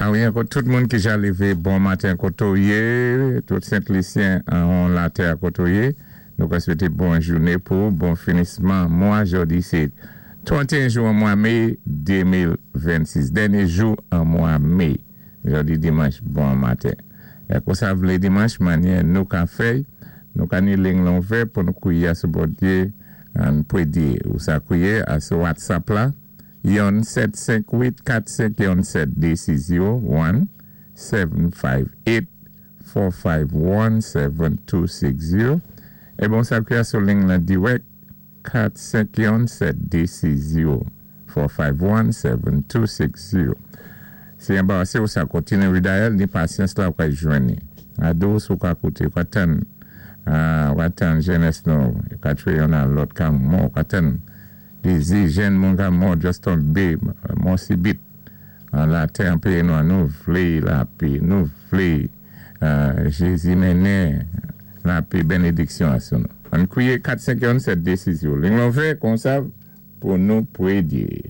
Awi, ankò tout moun ki ja lévé, bon maten koto yé, tout Sent Lisyen an latè koto yé. Nou ka swété bon jouné pou bon finisman mwa. Jòdi sé 31 jou an mwa mé 2026, dènyé jou an mwa mé. Jòdi dimanch, bon maten. É konsa vlé dimanch, mannyè nou ka fè, nou ka ni ling lan ouvè pou nou kwiyé asou Bondyé an pwédyé. Ou sa kwiyé asou WhatsApp la, 1 7 5 8 4 5 1 7 2 6 0, 1 7 5 8 4 5 1 7 2 6 0. É bon sa kwiyé asou ling lan dirèk, 4 5 1 7 2 6 0, 4 5 1 7 2 6 0. Si anbarasé ou sa kontiné redial, ni pasyans la ou ka jwenn ni. Ado sou ka kouté, ou ka tann, ou ka tann jènès nou, ou ka tchwé youn a lòt ka mò, ou ka tann dézi jèn moun ka mò, just tonbé, mò sibit. An latè an péyi nou an, nou vlé lapé, nou vlé Jézi mennen lapé bénédiksyon asou nou. Ann kwiyé 4 5 1 7 2 6 0. Ling lan ouvè konsa pou nou pwédyé.